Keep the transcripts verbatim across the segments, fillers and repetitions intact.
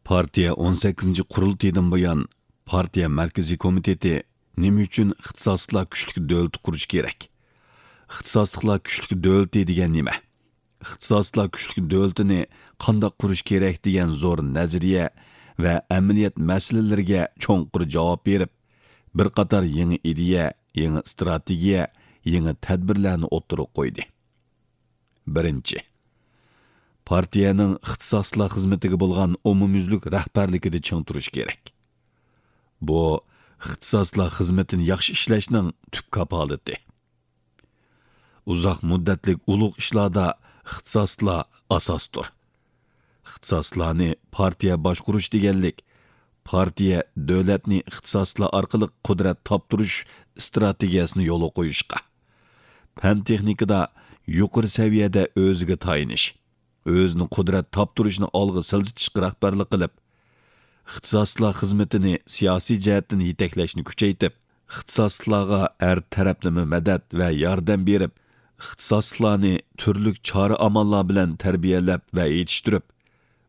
پارتىيە ئون سەككىزىنچى قۇرۇلتىيىدىن بۇيان، پارتىيە مەركىزىي كومىتېتى نېمە ئۈچۈن ئىختىساسلىقلار كۈچلۈك دۆلىتى قۇرۇش كېرەك؟ ئىختىساسلىقلار كۈچلۈك دۆلىتى دېگەن نېمە؟ ئىختىساسلىقلار كۈچلۈك دۆلىتىنى قانداق قۇرۇش كېرەك دېگەن زور نەزەرىيە ۋە ئەمەلىيەت مەسىلىلىرىگە چوڭقۇر جاۋاب بېرىپ، بىر قاتار يېڭى ئىدىيە، يېڭى ئىستراتېگىيە، يېڭى تەدبىرلەرنى ئوتتۇرىغا قويدى. بىرىنچى، پارتىيەنىڭ ئىختىساسلىقلار خىزمىتىگە بولغان ئومۇميۈزلۈك رەھبەرلىكىدە چىڭ تۇرۇش كېرەك. بۇ ئىختىساسلىقلار خىزمىتىنى ياخشى ئىشلەشنىڭ تۈپ كاپالىتى. ئۇزاق مۇددەتلىك ئۇلۇغ ئىشلاردا ئىختىساسلىقلار ئاساستۇر. ئىختىساسلىقلارنى پارتىيە باشقۇرۇش دېگەنلىك، پارتىيە دۆلەتنى ئىختىساسلىقلار ئارقىلىق قۇدرەت تاپتۇرۇش ئىستراتېگىيەسىنى يولغا قويۇشقا، پەن-تېخنىكىدا يۇقىرى سەۋىيەدە ئۆزىگە تايىنىش، ئۆزىنى قۇدرەت تاپتۇرۇشنى ئالغا سىلجىتىشقا رەھبەرلىك قىلىپ، ئىختىساسلىقلار خىزمىتىنى سىياسىي جەھەتتىن يېتەكلەشنى كۈچەيتىپ، ئىختىساسلىقلارغا ھەر تەرەپلىمە مەدەت ۋە ياردەم بېرىپ، ئىختىساسلىقلارنى تۈرلۈك چارە-ئاماللار بىلەن تەربىيەلەپ ۋە يېتىشتۈرۈپ،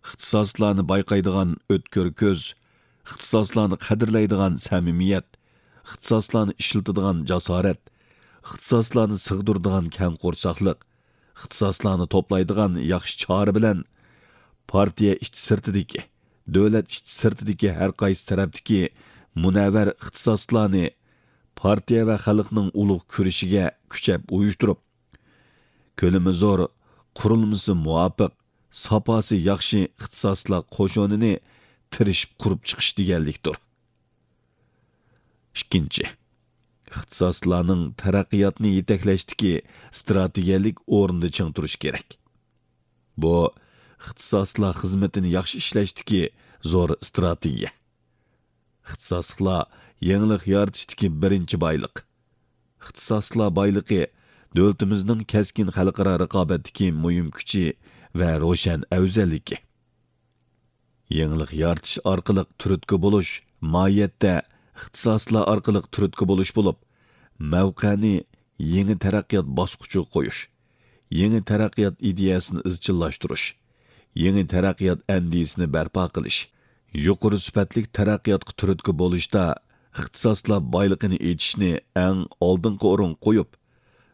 ئىختىساسلىقلارنى بايقايدىغان ئۆتكۈر كۆز، ئىختىساسلىقلارنى قەدىرلەيدىغان سەمىمىيەت، ئىختىساسلارنى ئىشلىتىدىغان جاسارەت، ئىختىساسلارنى سىغدۇرىدىغان كەڭ قورساقلىق، ئىختىساسلارنى توپلايدىغان ياخشى چارە بىلەن پارتىيە ئىچى سىرتىدىكى، دۆلەت ئىچى سىرتىدىكى ھەر قايسى تەرەپتىكى مۇنەۋۋەر ئىختىساسلارنى پارتىيە ۋە خەلقنىڭ ئۇلۇغ كۈرىشىگە كۈچەپ ئۇيۇشتۇرۇپ، كۆلىمى زور، قۇرۇلمىسى مۇۋاپىق، ساپاسى ياخشى ئىختىساسلار قوشۇنىنى تىرىشىپ قۇرۇپ چىقىش دېگەنلىكتۇر. ئىككىنچى، ئىختىساسلارنىڭ تەرەققىياتنى يېتەكلەشتىكى ئىستراتېگىيەلىك ئورنىدا چىڭ تۇرۇش كېرەك. بۇ ئىختىساسلار خىزمىتىنى ياخشى ئىشلەشتىكى زور ئىستراتېگىيە. ئىختىساسلىقلار يېڭىلىق يارىتىشتىكى بىرىنچى بايلىق. ئىختىساسلىقلار بايلىقى دۆلىتىمىزنىڭ كەسكىن خەلقئارا رىقابەتتىكى مۇھىم كۈچى ۋە روشەن ئەۋزەللىكى. يېڭىلىق يارىتىش ئارقىلىق تۈرتكە بولۇش ماھىيەتتە ئىختىساسلار ئارقىلىق تۈرتكە بولۇش بولۇپ، مەۋقەنى يېڭى تەرەققىيات باسقۇچىغا قويۇش، يېڭى تەرەققىيات ئىدىيەسىنى ئىزچىللاشتۇرۇش، يېڭى تەرەققىيات ئەندىزىسىنى بەرپا قىلىش، يۇقىرى سۈپەتلىك تەرەققىياتقا تۈرتكە بولۇشتا ئىختىساسلار بايلىقىنى ئېچىشنى ئەڭ ئالدىنقى ئورۇنغا قويۇپ،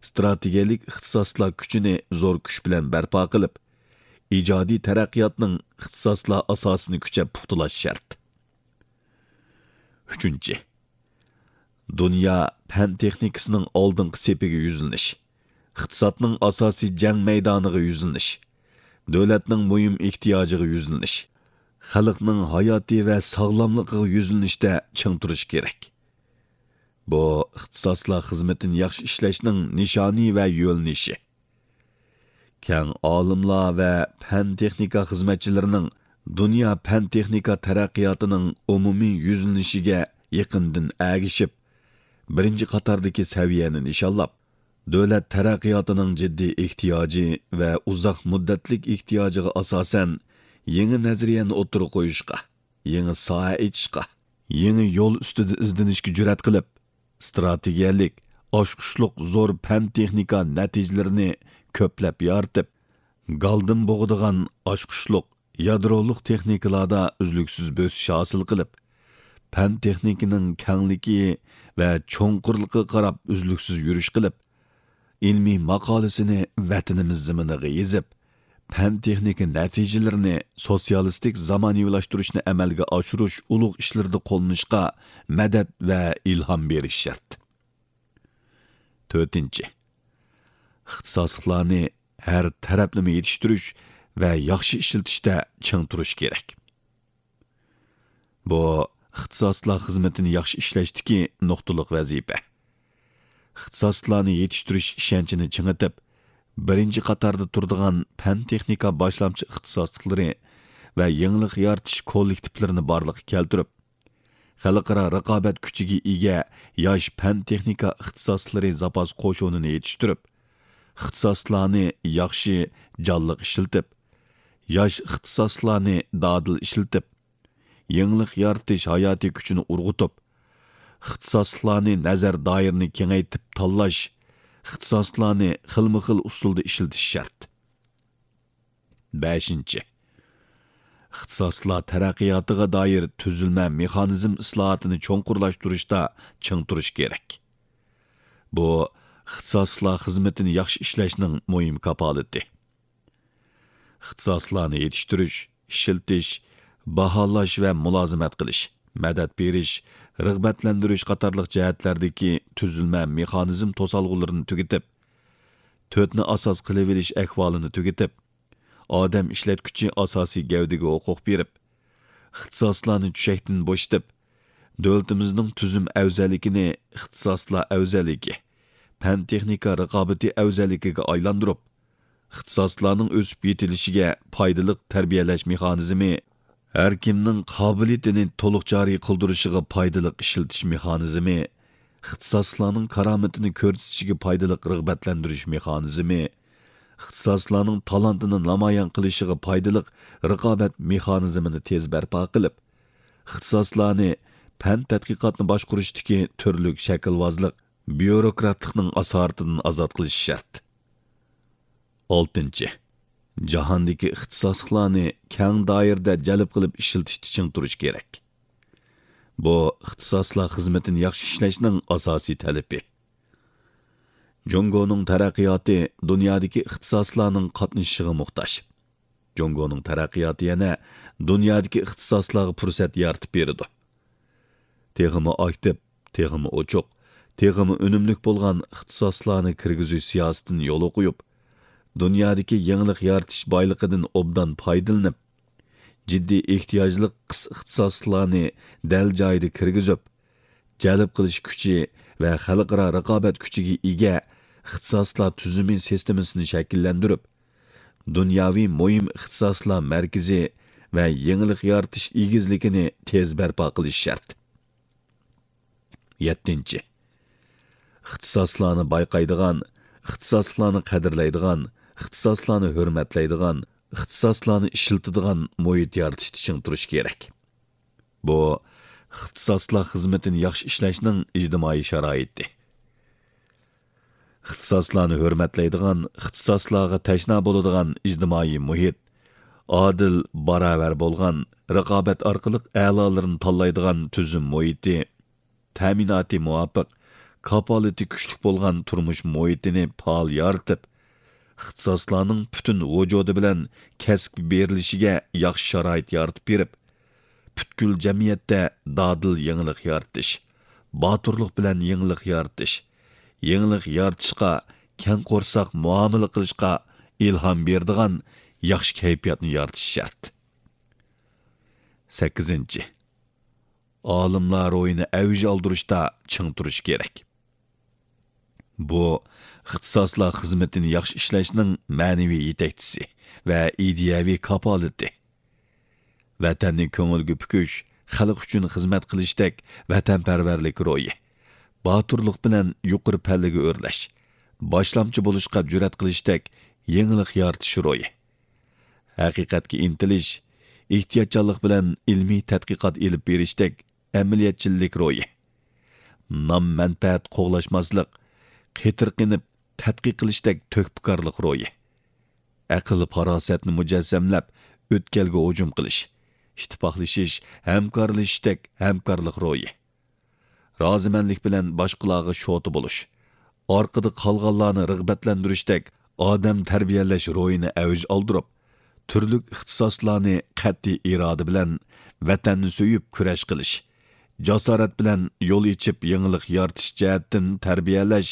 ئىستراتېگىيەلىك ئىختىساسلار كۈچىنى زور كۈچ بىلەن بەرپا قىلىپ، ئىجادىي تەرەققىياتنىڭ ئىختىساسلار ئاساسىنى كۈچەپ پۇختىلاش شەرت. ئۈچىنچى، دۇنيا پەن تېخنىكىسىنىڭ ئالدىنقى سېپىگە يۈزلىنىش، ئىقتىسادنىڭ ئاساسىي جەڭ مەيدانىغا يۈزلىنىش، دۆلەتنىڭ مۇھىم ئېھتىياجىغا يۈزلىنىش، خەلقنىڭ ھاياتى ۋە ساغلاملىقىغا يۈزلىنىشتە چىڭ تۇرۇش كېرەك. بۇ ئىختىساسلار خىزمىتىنى ياخشى ئىشلەشنىڭ نىشانى ۋە يۆنىلىشى. كەڭ ئالىملار ۋە پەن-تېخنىكا خىزمەتچىلىرىنىڭ دۇنيا پەن-تېخنىكا تەرەققىياتىنىڭ ئومۇمىي يۈزلىنىشىگە يېقىندىن ئەگىشىپ، بىرىنچى قاتاردىكى سەۋىيەنى نىشانلاپ، دۆلەت تەرەققىياتىنىڭ جىددىي ئېھتىياجى ۋە ئۇزاق مۇددەتلىك ئېھتىياجىغا ئاساسەن، يېڭى نەزەرىيەنى ئوتتۇرىغا قويۇشقا، يېڭى ساھە ئېچىشقا، يېڭى يول ئۈستىدە ئىزدىنىشكە جۈرئەت قىلىپ، ئىستراتېگىيەلىك، ئاچقۇچلۇق زور پەن-تېخنىكا نەتىجىلىرىنى كۆپلەپ يارىتىپ، گالدىن بوغىدىغان ئاچقۇچلۇق يادرولۇق تېخنىكىلاردا ئۈزلۈكسىز بۆسۈش ھاسىل قىلىپ، پەن-تېخنىكىنىڭ كەڭلىكى ۋە چوڭقۇرلۇقىغا قاراپ ئۈزلۈكسىز يۈرۈش قىلىپ، ئىلمىي ماقالىسىنى ۋەتىنىمىز زېمىنىغا يېزىپ، پەن-تېخنىكا نەتىجىلىرىنى سوتسىيالىستىك زامانىۋىلاشتۇرۇشنى ئەمەلگە ئاشۇرۇش ئۇلۇغ ئىشلىرىدا قوللىنىشقا مەدەت ۋە ئىلھام بېرىش شەرت. تۆتىنچى، ئىختىساسلىقلارنى ھەر تەرەپلىمە يېتىشتۈرۈش ۋە ياخشى ئىشلىتىشتە چىڭ تۇرۇش كېرەك. بۇ ئىختىساسلىقلار خىزمىتىنى ياخشى ئىشلەشتىكى نۇقتىلىق ۋەزىپە. ئىختىساسلىقلارنى يېتىشتۈرۈش ئىشەنچىنى چىڭىتىپ، بىرىنچى قاتاردا تۇرىدىغان پەن-تېخنىكا باشلامچى ئىختىساسلىقلىرى ۋە يېڭىلىق يارىتىش كوللېكتىپلىرىنى بارلىققا كەلتۈرۈپ، خەلقئارا رىقابەت كۈچىگە ئىگە ياش پەن-تېخنىكا ئىختىساسلىرى زاپاس قوشۇنىنى يېتىشتۈرۈپ، ئىختىساسلارنى ياخشى، جانلىق ئىشلىتىپ، ياش ئىختىساسلارنى دادىل ئىشلىتىپ، يېڭىلىق يارىتىش ھاياتىي كۈچىنى ئۇرغۇتۇپ، ئىختىساسلارنى نەزەر دائىرىنى كېڭەيتىپ تاللاش، ئىختىساسلارنى خىلمۇ خىل ئۇسۇلدا ئىشلىتىش شەرت. بەشىنچى، ئىختىساسلار تەرەققىياتىغا دائىر تۈزۈلمە مېخانىزم ئىسلاھاتىنى چوڭقۇرلاشتۇرۇشتا چىڭ تۇرۇش كېرەك. بۇ، ئىختىساسلار خىزمىتىنى ياخشى ئىشلەشنىڭ مۇھىم كاپالىتى. ئىختىساسلارنى يېتىشتۈرۈش، ئىشلىتىش، باھالاش ۋە مۇلازىمەت قىلىش، مەدەت بېرىش، رىغبەتلەندۈرۈش قاتارلىق جەھەتلەردىكى تۈزۈلمە مېخانىزم توسالغۇلىرىنى تۈگىتىپ، تۆتنى ئاساس قىلىۋېلىش ئەھۋالىنى تۈگىتىپ، ئادەم ئىشلەتكۈچى ئاساسىي گەۋدىگە ھوقۇق بېرىپ، ئىختىساسلارنى چۈشەكتىن بوشىتىپ، دۆلىتىمىزنىڭ تۈزۈم ئەۋزەللىكىنى ئىختىساسلار ئەۋزەللىكى، پەن-تېخنىكا رىقابىتى ئەۋزەللىكىگە ئايلاندۇرۇپ، ئىختىساسلارنىڭ ئۆسۈپ يېتىلىشىگە پايدىلىق تەربىيەلەش مېخانىزمى، ھەر كىمنىڭ قابىلىيىتىنى تولۇق جارى قىلدۇرۇشىغا پايدىلىق ئىشلىتىش مېخانىزمى، ئىختىساسلارنىڭ كارامىتىنى كۆرسىتىشىگە پايدىلىق رىغبەتلەندۈرۈش مېخانىزمى، ئىختىساسلارنىڭ تالانتىنى نامايان قىلىشىغا پايدىلىق رىقابەت مېخانىزمىنى تېز بەرپا قىلىپ، ئىختىساسلارنى پەن تەتقىقاتنى باشقۇرۇشتىكى تۈرلۈك شەكىلۋازلىق، بيۇروكراتلىقنىڭ ئاسارىتىدىن ئازاد قىلىش شەرت. ئالتىنچى، جاھاندىكى ئىختىساسلىقلارنى كەڭ دائىرىدە جەلپ قىلىپ ئىشلىتىشتە چىڭ تۇرۇش كېرەك. بۇ، ئىختىساسلار خىزمىتىنى ياخشى ئىشلەشنىڭ ئاساسىي تەلىپى. جۇڭگونىڭ تەرەققىياتى دۇنيادىكى ئىختىساسلارنىڭ قاتنىشىشىغا موھتاج. جۇڭگونىڭ تەرەققىياتى يەنە دۇنيادىكى ئىختىساسلارغا پۇرسەت يارىتىپ بېرىدۇ. تېخىمۇ ئاكتىپ، تېخىمۇ ئوچۇق، تېخىمۇ ئۈنۈملۈك بولغان ئىختىساسلارنى كىرگۈزۈش سىياسىتىنى يولغا قويۇپ، دۇنيادىكى يېڭىلىق يارىتىش بايلىقىدىن ئوبدان پايدىلىنىپ، جىددىي ئېھتىياجلىق قىس ئىختىساسلىقلارنى دەل جايىدا كىرگۈزۈپ، جەلپ قىلىش كۈچى ۋە خەلقئارا رىقابەت كۈچىگە ئىگە ئىختىساسلار تۈزۈمى سىستېمىسىنى شەكىللەندۈرۈپ، دۇنياۋى مۇھىم ئىختىساسلار مەركىزى ۋە يېڭىلىق يارىتىش ئېگىزلىكىنى تېز بەرپا قىلىش شەرت. يەتتىنچى، ئىختىساسلارنى بايقايدىغان، ئىختىساسلارنى قەدىرلەيدىغان، ئىختىساسلارنى ھۆرمەتلەيدىغان، ئىختىساسلارنى ئىشلىتىدىغان مۇھىت يارىتىشتا چىڭ تۇرۇش كېرەك. بۇ، ئىختىساسلار خىزمىتىنى ياخشى ئىشلەشنىڭ ئىجتىمائىي شارائىتى. ئىختىساسلارنى ھۆرمەتلەيدىغان، ئىختىساسلارغا تەشنا بولىدىغان ئىجتىمائىي مۇھىت، ئادىل، باراۋەر بولغان، رىقابەت ئارقىلىق ئەلالىرىنى تاللايدىغان تۈزۈم مۇھىتى، تەمىناتى مۇۋاپىق، كاپالىتى كۈچلۈك بولغان تۇرمۇش مۇھىتىنى پائال يارىتىپ، ئىختىساسلارنىڭ پۈتۈن ۋۇجۇدى بىلەن كەسىپكە بېرىلىشىگە ياخشى شارائىت يارىتىپ بېرىپ، پۈتكۈل جەمئىيەتتە دادىل يېڭىلىق يارىتىش، باتۇرلۇق بىلەن يېڭىلىق يارىتىش، يېڭىلىق يارىتىشقا كەڭ قورساق مۇئامىلە قىلىشقا ئىلھام بېرىدىغان ياخشى كەيپىياتنى يارىتىش شەرت. سەككىزىنچى، ئالىملار روھىنى ئەۋج ئالدۇرۇشتا چىڭ تۇرۇش كېرەك. بۇ، ئىختىساسلار خىزمىتىنى ياخشى ئىشلەشنىڭ مەنىۋى يېتەكچىسى ۋە ئىدىيەۋى كاپالىتى. ۋەتەننى كۆڭۈلگە پۈكۈش، خەلق ئۈچۈن خىزمەت قىلىشتەك ۋەتەنپەرۋەرلىك روھى، باتۇرلۇق بىلەن يۇقىرى پەللىگە ئۆرلەش، باشلامچى بولۇشقا جۈرئەت قىلىشتەك يېڭىلىق يارىتىش روھى، ھەقىقەتكە ئىنتىلىش، ئېھتىياتچانلىق بىلەن ئىلمىي تەتقىقات ئېلىپ بېرىشتەك ئەمەلىيەتچىللىك روھى، نام-مەنپەئەت قوغلاشماسلىق، قېتىرقىنىپ تەتقىق قىلىشتەك تۆھپىكارلىق روھى، ئەقىل-پاراسەتنى مۇجەسسەملەپ ئۆتكەلگە ھۇجۇم قىلىش، ئىتتىپاقلىشىش، ھەمكارلىشىشتەك ھەمكارلىق روھى، رازىمەنلىك بىلەن باشقىلارغا شوتا بولۇش، ئارقىدا قالغانلارنى رىغبەتلەندۈرۈشتەك ئادەم تەربىيەلەش روھىنى ئەۋج ئالدۇرۇپ، تۈرلۈك ئىختىساسلارنى قەتئىي ئىرادە بىلەن ۋەتەننى سۆيۈپ كۈرەش قىلىش، جاسارەت بىلەن يول ئېچىپ يېڭىلىق يارىتىش جەھەتتىن تەربىيەلەش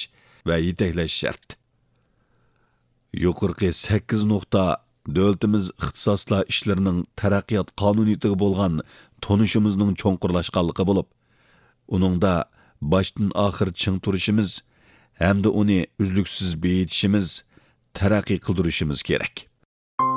ۋە يېتەكلەش شەرت. يۇقىرىقى سەككىز نۇقتا دۆلىتىمىز ئىختىساسلار ئىشلىرىنىڭ تەرەققىيات قانۇنىيىتىگە بولغان تونۇشىمىزنىڭ چوڭقۇرلاشقانلىقى بولۇپ، ئۇنىڭدا باشتىن ئاخىر چىڭ تۇرۇشىمىز ھەمدە ئۇنى ئۈزلۈكسىز بېيىتىشىمىز، تەرەققىي قىلدۇرۇشىمىز كېرەك.